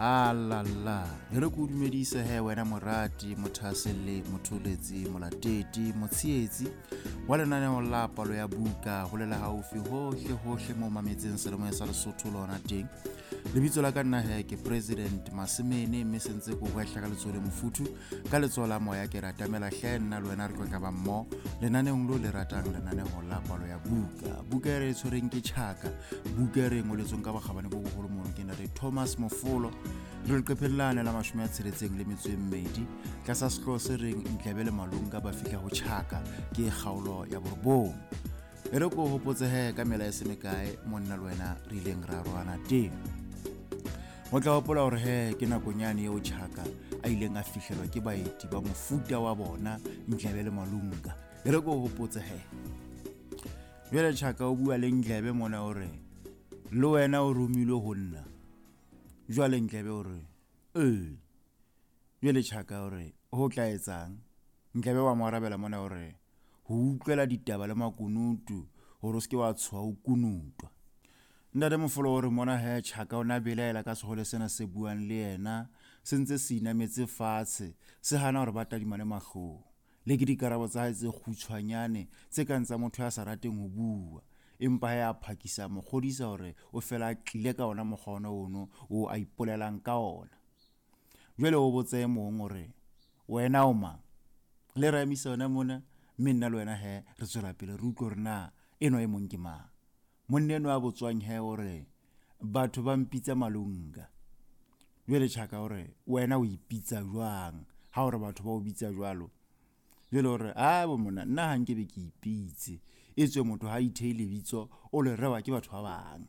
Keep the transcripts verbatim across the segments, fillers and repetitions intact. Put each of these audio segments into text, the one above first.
Alala, e re ke o dumedise he wena morati, mothaselle, motholetsi, molatedi, motshehetsi wa lenaneo la palo ya buka ho lela haufi hohle hohle mo mametseng selemoya sa Lesotho lona teng. Lebitso la ka nna he ke President Masemene, mme se ntse ko hwehla ka letsoho le mofuthu, ka letsoho la moya ke ratamela hle nna le wena re tlo tla ba mmoho lenaneong lo le ratang, lenaneo la palo ya buka. Buka e re e tshwereng ke Tjhaka, buka e re e ngoletsweng ka bokgabane bo boholo mono ke ntate Thomas Mofolo. Re leqepheng lane la mashome a tsheletseng le metso e mmedi tlasa sehlooho se reng Ntlebe le Malunga ba fihla ho Tjhaka, ke kgaolo ya borobong. E re ko hopotse he ka mela e se mekae monna le wena re ileng ra roana teng. O tla hopola hore he ke nakonyane eo Tjhaka a ileng a fihlelwa ke baeti ba mofuta wa bona Ntlebe le Malunga. E re ko hopotse he. Jwale Tjhaka o bua le Ntlebe mona o re le wena o romilwe ho nna. Jwale Ntlebe o re ee. Jwale Tjhaka o re ho tla etsang? Ntlebe wa mo arabela mona o re ho utlwela ditaba le makunutu hore o se ke wa tshoha o kunutwa. Ntate Mofolo o re mona he Tjhaka o na belaela ka sehole sena se buang le yena, se ntse se inametse fatshe, se hana hore ba tadimane mahlong. Le ke dikarabo tsa hae tse kgutshwanyane tse kang tsa motho ya sa rateng ho bua. Empa he a phakisa mo kgodisa hore o fela a tlile ka ona mokgwa ona ono o a ipolelang ka ona. Jwale o botse e mong hore wena o mang? Le re emisa yona mona, mme nna le wena he re tswela pele re utlwe hore na enwa e mong ke mang. Monna enwa a botswang he o re batho ba mpitsa Malunga. Jwale Tjhaka o re wena o ipitsa jwang ha o re batho ba o bitsa jwalo? Jwale o re a bo monna nna ha nke be ke ipitse, etswe motho ha itheile lebitso o le rewa ke batho ba bang.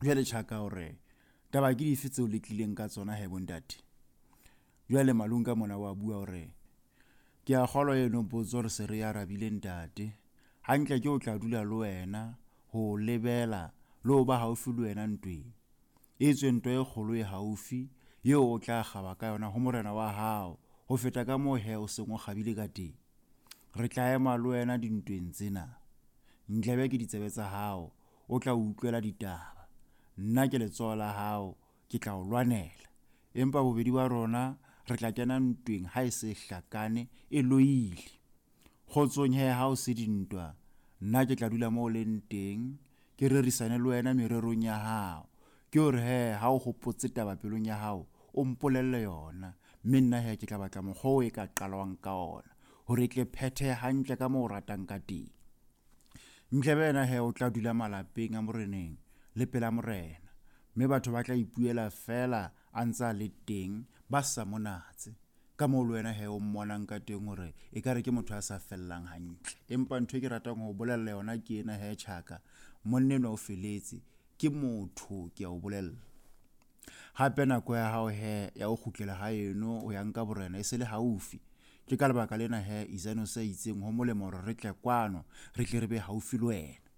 Jwale Tjhaka o re taba ke dife tseo le tlileng ka tsona he bontate? Jwale Malunga mona wa bua hore ke a kgolwa eno potso re se re arabile ntate. Hantle ke o tla dula le wena ho lebela le ho ba haufi le wena ntweng. Etswe ntwa e kgolo e haufi eo o tla kgaba ka yona ho morena wa hao ho feta ka moo he o seng o kgabile ka teng. Re tla ema le wena dintweng tsena. Ntlebe ke ditsebe tsa hao, o tla utlwela ditaba. Nna ke letsoho la hao, ke tla o lwanela. Empa bobedi ba rona re tla kena ntweng ha e se hlakane e loile. Kgotsong he ha o se dintwa, nna ke tla dula moo o leng teng, ke rerisane le wena mererong ya hao. Ke hore he ha o hopotse taba pelong ya hao, o mpolelle yona, mme nna he ke tla batla mokgwa oo e ka qalwang ka ona hore e tle phethehe hantle ka moo o ratang ka teng. Ntlebe yena he o tla dula malapeng a moreneng le pela morena, mme batho ba tla ipuela feela a ntse a le teng ba sa mo natse. Ka moo le wena he o mmonang ka teng hore ekare ke motho a sa fellang hantle. Empa ntho e ke ratang ho bolella yona ke ena he Tjhaka, monna enwa o feletse, ke motho ke a o bolella. Hape nako ya hao he ya ho kgutlela haeno o ya nka borena e se le haufi. Ke ka lebaka lena he Isano se itseng ho molemo hore re tle kwano, re tle re be haufi le wena.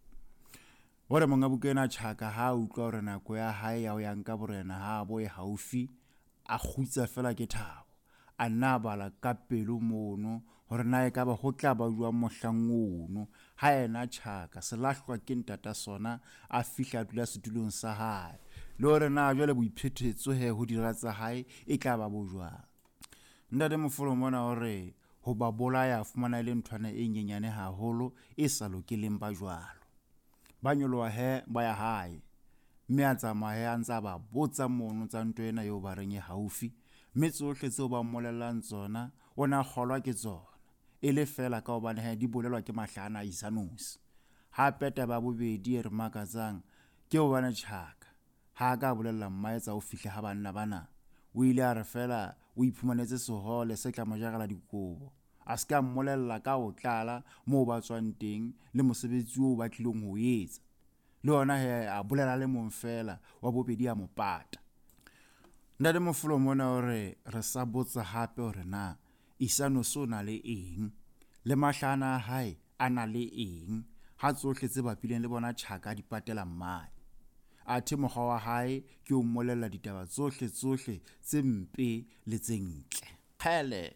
Hore monga buka ena Tjhaka ha utlwa hore nako ya hae ya ho ya nka borena ha bo e haufi, a kgutsa fela ke thabo. A nna a bala ka pelo mono hore na ekaba ho tla ba jwang mohlang ono ha yena Tjhaka selahlwa ke ntata sona a fihla a dula setulong sa hae, le hore na jwale boiphethetso he ho dira tsa hae e tla ba bo jwang. Ntate Mofolo mona o re ho ba bolaya fumana e le nthwana e nyenyane haholo e sa lokeleng ba jwalo. Ba nyoloha he ba ya hae, mme a tsamaya a ntse a ba botsa mono tsa ntwa ena eo ba reng e haufi, mme tsohle tseo ba mmolellang tsona o na kgolwa ke tsona e le feela ka hobane he di bolelwa ke mahlahana a Isanosi. Hape taba ya bobedi e re makatsang ke hobane Tjhaka ha a ka bolella mmae tsa ho fihla ha banna bana. O ile a re feela o iphumanetse sehole se tla mo jarela dikobo, a se ka mmolella ka ho tlala moo ba tswang teng le mosebetsi oo ba tlilong ho etsa. Le yona he a bolela le mong feela wa bobedi a mo pata. Ntate Mofolo mona o re re sa botsa hape hore na Isanosi o na le eng le mahlahana a hae a na le eng ha tsohle tse bapileng le bona Tjhaka di patela mmae. Athe mokgwa wa hae ke o mmolella ditaba tsohle tsohle tse mpe le tse ntle. Kgele.